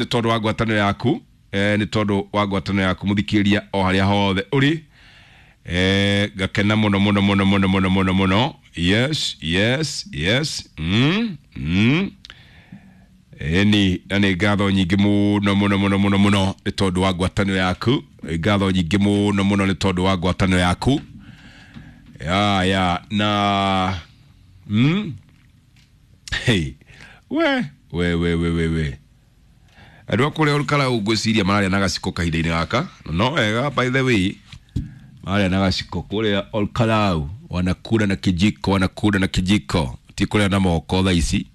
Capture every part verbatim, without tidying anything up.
Nĩ tondũ wa ngwatanĩro yaku, eh, nĩ tondũ wa ngwatanĩro yaku mũthikĩrĩria o harĩa hothe ũrĩ. Eh, ngakena mũno mũno mũno mũno mũno mũno mũno. Yes, yes, yes. mm, mm. Ĩni, na nĩ ngatho nyingĩ mũno mũno mũno mũno mũno nĩ tondũ wa ngwatanĩro yaku. Nĩ ngatho nyingĩ mũno mũno nĩ tondũ wa ngwatanĩro yaku. Ya ya na mm? Hey. We we we we we we andũ a kũrĩa Olkalau ngwĩciria mararia na gaciko kahinda-inĩ gaka. No wega, by the way, mararia na gaciko kũrĩa Olkalau, wanakula na kijiko, wanakula na kijiko, ti kũrĩa na moko thaa ici.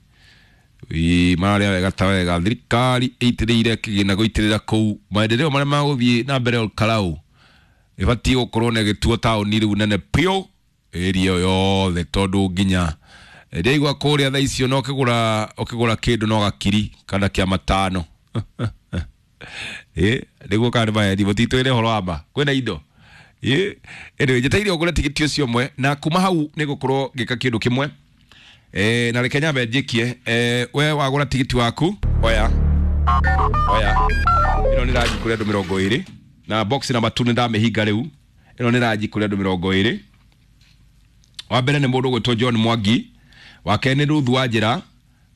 Ĩĩ, mararia wega ta wega. Thirikari ĩitĩrĩire kĩgĩna gũitĩrĩra kũu maendeleo marĩa magũthiĩ na mbere Olkalau ĩbatiĩ gũkorwo na gĩtuo taũni rĩu nene piũ ĩria ĩyo yothe, tondũ nginya ndĩraigua kũrĩa thaa icio no ũkĩgũra ũkĩgũra kĩndũ no gakiri kana kĩa matano. Ĩ nĩguo kana nĩ maheni, mũtitwĩre ũhoro wa ma kwĩna indo. Ĩ anyway, njetereire ũgũre tigiti ũcio ũmwe na kuma hau nĩ ngũkorwo ngĩka kĩndũ kĩmwe. Eh, na reke nyambe njĩkie. Eh, we wagũra tigiti waku, oya oya ĩno nĩ ranji kũrĩ andũ mĩrongo ĩrĩ na box number two nĩ ndamĩhinga rĩu. Ĩno nĩ ranji kũrĩ andũ mĩrongo ĩrĩ. Wa mbere nĩ mũndũ ũgwĩtwo John Mwangi, wa kerĩ nĩ Ruth Wanjĩra,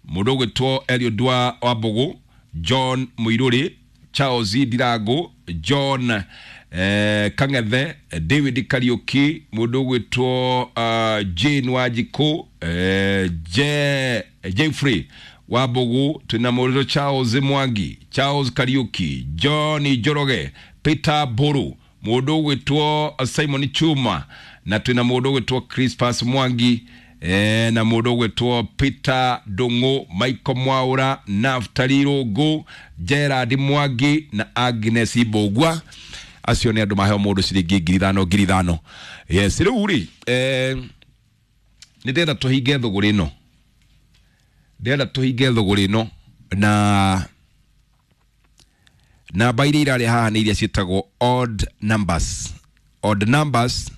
mũndũ ũgwĩtwo Eliud wa Wambũgũ, John Mũirũrĩ, Charles Ndirangu, John eh, Kang'ethe, David Kariuki, mũndũ ũgwĩtwo uh, Jane Wanjikũ, eh, Je, Jeffrey Wambũgũ, twĩna mũndũ Charles Mwangi, Charles Kariuki, John Njoroge, Peter Mburu, mũndũ ũgwĩtwo Simon Chuma, na twĩna mũndũ ũgwĩtwo Crispas Mwangi, eh, na mũndũ ũgwĩtwo Peter Ndung'u, Michael Mwaura, Naftali Rũngũ, Gerard Mwangi na Agnes Mbũgua. Acio nĩ andũ maheo mũndũ ciringi ngiri ithano ngiri ithano. Yes, rĩu rĩ, eh, nĩ ndĩrenda tũhinge thũgũrĩ ĩno, ndĩrenda tũhinge thũgũrĩ ĩno na namba iria irarĩ haha nĩ iria ciĩtagwo odd numbers. Odd numbers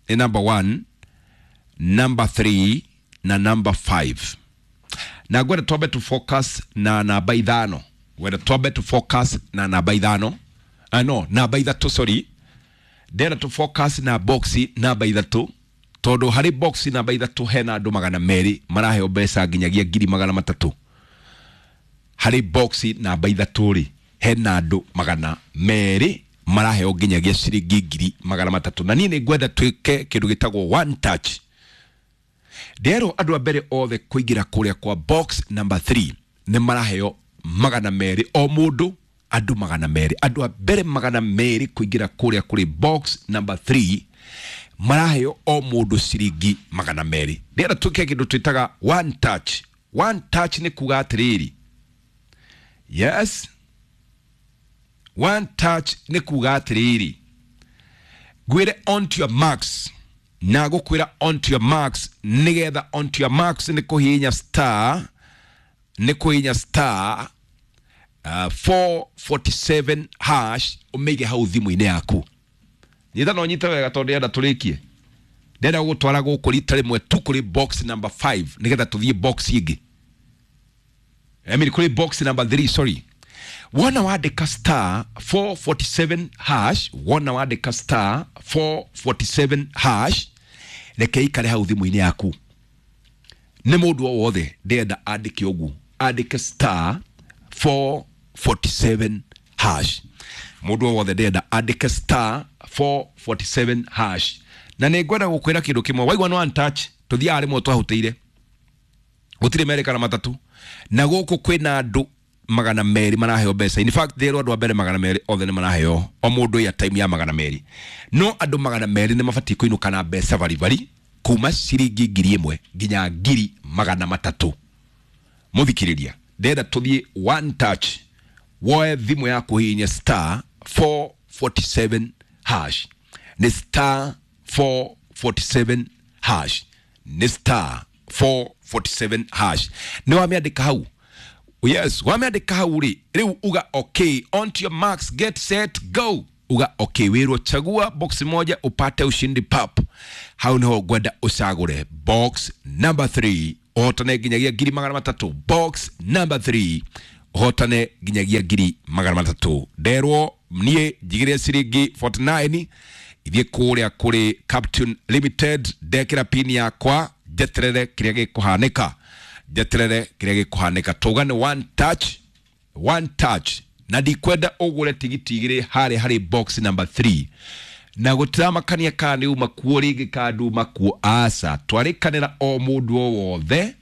nĩ number one, number three na number five, na ngwenda twambe tu focus na namba ithano, ngwenda twambe tu focus na namba ithano, ah, no, namba ithatũ, sorry. Ndĩrenda tu focus na box namba ithatũ, tondũ harĩ box namba ithatũ hena andũ magana merĩ maraheo mbeca nginyagia ngiri magana matatũ. Harĩ box namba ithatũ rĩ, hena andũ magana merĩ maraheo nginyagia ciringi ngiri magana matatũ, na niĩ nĩ ngwenda twĩke kĩndũ gĩtagwo one touch. Nderwo andũ a mbere othe kũingĩra kũrĩa kwa box number three nĩ maraheo magana merĩ o mũndũ, andũ magana merĩ, andũ a mbere magana merĩ kũingĩra kũrĩa kũrĩ box number three maraheo o mũndũ ciringi magana merĩ. Ndĩrenda twĩke kĩndũ twĩtaga one touch. One touch nĩ kuga atĩrĩrĩ, yes, one touch nĩ kuga atĩrĩrĩ, ngwĩre "On to your marks", na gũkwĩra "On to your marks", nĩgetha "On to your marks" nĩ kũhihinya star, nĩ kũhihinya star uh, four forty-seven hash, ũmĩige hau thimũ-inĩ yaku. Nyita no nyite wega, tondũ ndĩrenda tũrĩkie, ndĩrenda gũgũtwara gũkũ rita rĩmwe tu kũrĩ box number five, nĩgetha tũthiĩ box ĩngĩ. I mean, kũrĩ box number three, sorry. Wona wandĩka star four forty-seven hash, wona wandĩka star four forty-seven hash, reke ikare hau thimũ-inĩ yaku. Nĩ mũndũ o wothe ndĩrenda andĩke ũguo, andĩke star four forty-seven hash. Mũndũ o wothe ndĩrenda andĩke star four forty-seven hash, na nĩ ngwenda gũkwĩra kĩndũ kĩmwe. Waigua no one touch, tũthiaga rĩmwe twahutĩire, gũtirĩ merĩ kana matatũ, na gũkũ kwĩna andũ magana merĩ maraheo mbeca. In fact, ndĩrwo andũ a mbere magana merĩ othe nĩ maraheo o mũndũ ya time ya magana merĩ, no andũ magana merĩ nĩ mabatiĩ kũinũka na mbeca baribari kuma ciringi ngiri ĩmwe nginya ngiri magana matatũ. Mũthikĩrĩria, ndĩrenda tũthiĩ one touch. Woe thimũ yaku, hihinya star four forty-seven hash, nĩ star four forty-seven hash, nĩ star four forty-seven hash. Nĩ wamĩandĩka hau? Yes, wamĩandĩka hau rĩ, rĩu uga "Okay, on to your marks, get set, go". Uga "Okay", wĩrwo "Chagua box moja upate ushindi pap". Hau niho ngwenda ũcagũre box number three, ũhotane nginyagia ngiri magana matatũ. Box number three. Ũhotane nginyagia ngiri magana matatũ. Nderwo niĩ njigĩre ciringi mĩrongo ĩna na kenda ithiĩ kũrĩa kũrĩ Captain Limited, ndekĩra pini yakwa, njeterere kĩrĩa gĩkũhanĩka, njeterere kĩrĩa gĩkũhanĩka. Tauga nĩ one touch, one touch, na ndikwenda ũgũre tigiti igĩrĩ harĩa harĩ box number three, na gũtiramakania kana nĩ uma kuo rĩngĩ kana nduma kuo, aca. Twarĩkanĩra o mũndũ o wothe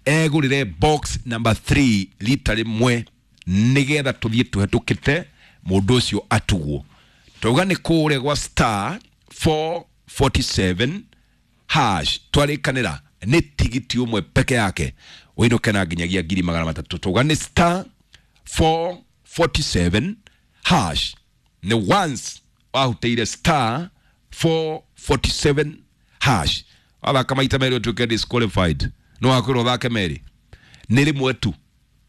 egũrĩre box number three rita rĩmwe, nĩgetha tũthiĩ tũhetũkĩte mũndũ ũcio atugwo. Twauga nĩ kũrĩa gwa star four forty-seven hash. Twarĩkanĩra nĩ tigiti ũmwe peke yake ũinũke na nginyagia ngiri magana matatũ. Twauga nĩ star four forty-seven hash. Nĩ once wahutĩire star four forty-seven hash, wathaka maita merĩ ũtuĩke disqualified. No wakwĩrwo ũthake merĩ, nĩ rĩmwe tu.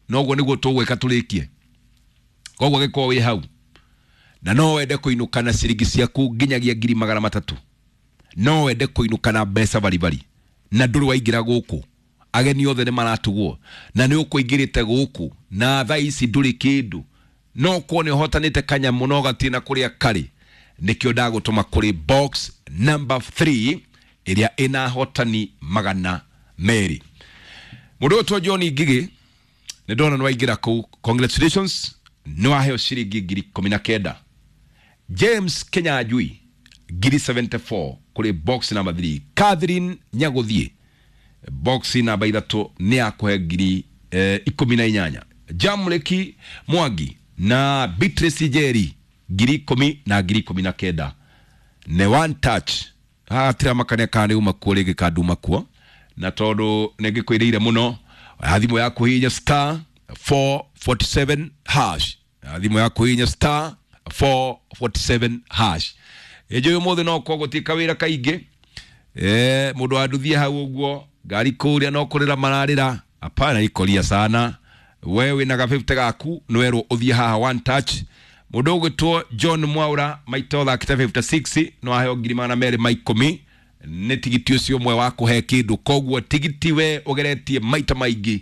Noguo nĩguo tũgwĩka tũrĩkie. Koguo gĩkorwo wĩ hau na no wende kũinũka na ciringi ciaku nginyagia ngiri magana matatũ, no wende kũinũka na mbeca baribari, na ndũrĩ waingĩra gũkũ, ageni othe nĩ maratugwo na nĩ ũkũingĩrĩte gũkũ na thaa ici ndũrĩ kĩndũ, no korwo nĩ ũhotanĩte kanyamũ no gatirĩ na kũrĩa karĩ, nĩkĩo ndagũtũma kũrĩ box number three ĩrĩa ĩna hotani magana merĩ. Mũndũ ũyũ John Ngigĩ, nĩ ndona nĩ waingĩra kũu, congratulations, nĩ waheo ciringi ngiri ikũmi na kenda. James Kenyanjui, ngiri mĩrongo mũgwanja na inya kũrĩ box number three. Catherine Nyagũthiĩ, box namba ithatũ nĩ yakũhe ngiri eh, ikũmi na inyanya. Jamleki Mwangi na Beatrice Njeri, ngiri ikũmi na ngiri ikũmi na kenda. Nĩ one touch, hatirĩ makania kana nĩ uma kuo rĩngĩ kana nduma kuo, na tondũ nĩ ngĩkwĩrĩire mũno, thimũ yaku hihinya star four forty-seven hash, thimũ yaku hihinya star four forty-seven hash. Ĩnjũ ũmũthĩ no korwo gũtirĩ kawĩra kaingĩ, eh mũndũ wa nduthie hau ũguo ngari kũrĩa no kũrĩra mararĩra, hapana ikoria sana. We wĩna ga fifty gaku, nĩwerwo ũthiĩ haha one touch. Mũndũ ũgwĩtwo John Mwaura, maita ũthakĩte mĩrongo ĩtano na ithathatũ, no aheo ngiri magana merĩ ma ikũmi. Nĩ tigiti ũcio ũmwe wa kũhe kĩndũ. Koguo tigiti we ũgeretie maita maingĩ,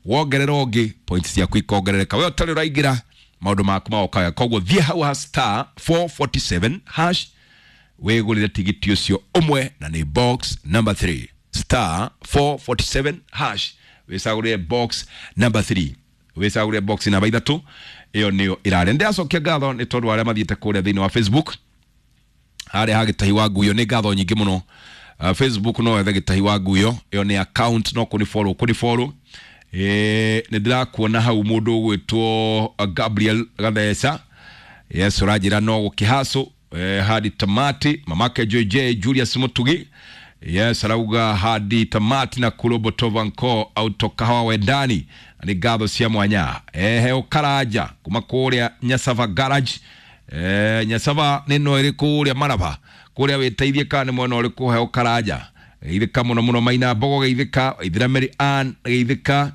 wongerera ũngĩ, points ciaku ikongerereka. We ũtarĩ ũraingĩra, maũndũ maku magoka. Koguo thiĩ hau ha star four forty-seven hash, wĩgũrĩre tigiti ũcio ũmwe, na nĩ box number three. Star four forty-seven hash, wĩcagũrĩre box number three, wĩcagũrĩre box namba ithatũ, ĩyo nĩyo ĩrarĩa. Ndĩracokia ngatho nĩ tondũ wa arĩa mathiĩte kũrĩa thĩinĩ wa Facebook harĩa ha Gĩtahi wa Nguyo, nĩ ngatho nyingĩ mũno. uh, Facebook no wethe Gĩtahi wa Nguyo, ĩyo nĩ account, no kũni follow, kũni follow. Eh, nĩ ndĩrakuona hau mũndũ ũgwĩtwo uh, Gabriel Gatheca, yes, ũranjĩra no gũkĩhacũ eh, hadi tamati. Mamake J J Julius Mutugi, yes, arauga hadi tamati na kurobotovanko autokahawa wendani, nĩ ngatho cia mwanya. Ehe, ũkaranja kuma kũrĩa Nyasava garage, eh, Nyasava nĩ no ĩrĩ kũrĩa Maraba kũrĩa, wĩteithie kana nĩ mwena ũrĩkũ. He ũkaranja geithĩka mũno mũno. Maina Mbogo geithĩka, Ithira Mary Ann geithĩka,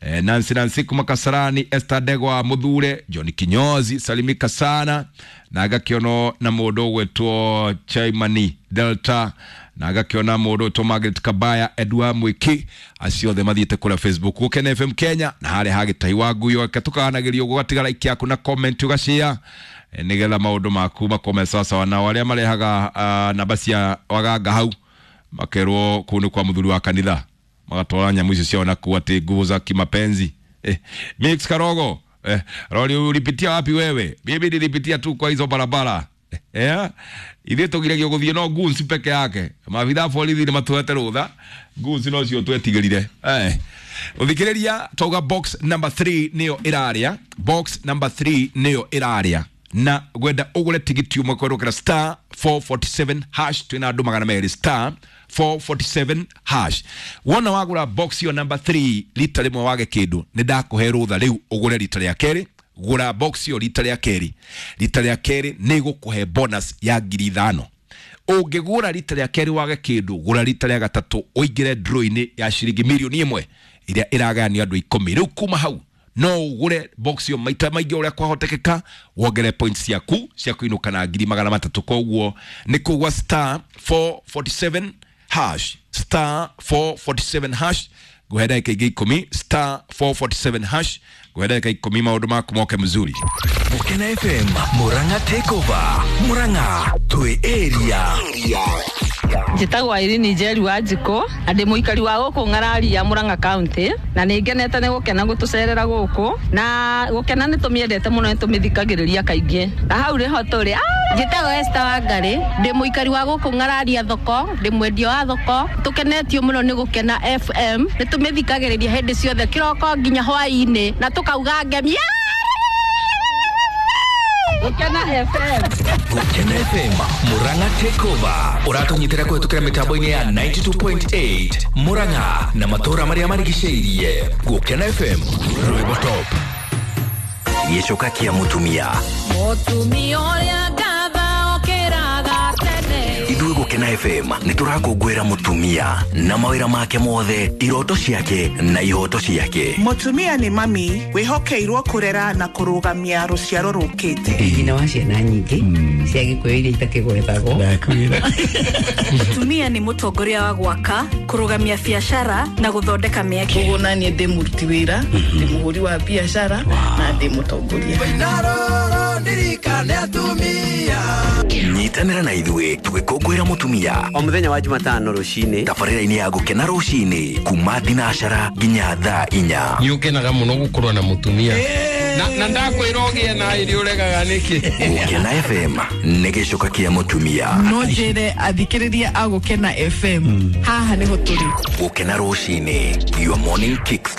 eh, Nancy Nancy kuma Kasarani, Esther Ndegwa Muthure, John Kinyozi salimika sana, na ngakĩonwo na mũndũ ũgwĩtwo Chaimani Delta, na ngakĩona mũndũ ũgwĩtwo Margaret Kabaya, Edward Mwiki, acio othe mathiĩte kũrĩa Facebook Gũkena F M Kenya na harĩa ha Gĩtahi wa Nguyo. Reke tũkaganagĩrio ũguo, ũgatiga like yaku na comment, ũgashare, eh, nĩgetha maũndũ maku makome sawasawa. Nao arĩa marehaga uh, namba cia waganga hau makerwo kũu nĩ kwa mũthuri wa kanitha, magatwara nyamũ icio ciao nakuo atĩ nguvu za kimapenzi. eh, Mix Karogo, eh, rori ulipitia wapi wewe? Mimi nilipitia tu kwa hizo barabara, eh ithuĩ tũgiragio gũthiĩ no goons peke yake. Maabitha a borithi nĩ matũhete rũtha, goons no cio twetigĩrire. eh ũthikĩrĩria, twauga box number three nĩyo ĩrarĩa, box number three nĩyo ĩrarĩa, na gwenda ũgũre tigiti ũmwe kwerũkĩra star four forty-seven hash. Twĩna andũ magana merĩ. Star four forty-seven hash. Wona wagũra box ĩyo number three rita rĩmwe wage kĩndũ, nĩ ndakũhe rũtha rĩu ũgũre rita rĩa kerĩ. Gũra box ĩyo rita rĩa kerĩ, rita rĩa kerĩ nĩ gũkũhe bonus ya ngiri ithano. Ũngĩgũra rita rĩa kerĩ wage kĩndũ, gũra rita rĩa gatatũ, ũingĩre draw-inĩ ya ciringi mirioni ĩmwe ĩrĩa ĩragayanio andũ ikũmi. Rĩu kuma hau no ũgũre box ĩyo maita maingĩ ũrĩa kwahotekeka, wongere points ciaku cia kũinũka na ngiri magana matatũ. Koguo nĩ kũgwa star four forty-seven hash, star four forty-seven hash. Nguhe ndagĩka ingĩ ikũmi, star four forty-seven hash. Nguhe ndagĩka ikũmi maũndũ maku moke mzuri. Gukena F M, Murang'a Takeover, Murang'a twi area. Njĩtagwo Irene Njeri wa Njikũ na ndĩ mũikari wa gũkũ Ng'araria, Murang'a County, na nĩ ngenete nĩ gũkena gũtũcerera gũkũ, na gũkena nĩ tũmĩendete mũno, nĩ tũmĩthikagĩrĩria kaingĩ na hau nĩho tũrĩ. Njĩtagwo Esther Wangari, ndĩ mũikari wa gũkũ Ng'araria thoko, ndĩ mwendia wa thoko. Tũkenetio mũno nĩ Gũkena F M, nĩ tũmĩthikagĩrĩria hĩndĩ ciothe kĩroko nginya hwaĩ-inĩ na tũkauga ngemi. Gũkena F M. Gukena F M, Murang'a Takeover, ũratũnyitĩra kũhetũkĩra mĩtambo-inĩ ya ninety-two point eight Murang'a na matũũra marĩa marigicĩirie. Gukena F M, rwĩmbo top. Gĩcoka kĩa mũtumia. Mũtumia ũrĩa ngatha okĩraga tene. Ithuĩ Gũkena F M nĩ tũrakũngũĩra mũtumia na mawĩra make mothe, iroto ciake na ihoto ciake. Mũtumia nĩ mami wĩhokeirwo kũrera na kũrũgamia rũciaro rũkĩte. Nyina wa ciana nyingĩ cia Gĩkũyũ iria itakĩgwetagwo. Mũtumia nĩ mũtongoria wa gwaka, kũrũgamia biacara na gũthondeka mĩeke. Koguo naniĩ ndĩ mũruti wĩra, ndĩ mũhũri wa biacara na ndĩ mũtongoria. Nyitanĩra na ithuĩ tũgĩkũngũĩra mũtumia o mũthenya wa Jumatano rũcinĩ tabarĩra-inĩ ya Gũkena rũcinĩ kuma thinacara nginya thaa inya. Nĩ ũkenaga mũno gũkorwo na mũtumia na, na ndakwĩra ũgĩe na irio ũregaga nĩkĩ? Gũkena F M nĩ gĩcoka kĩa mũtumia. No njĩre athikĩrĩria a Gũkena F M, haha nĩho tũrĩ. Gũkena rũcinĩ, your morning kickstart.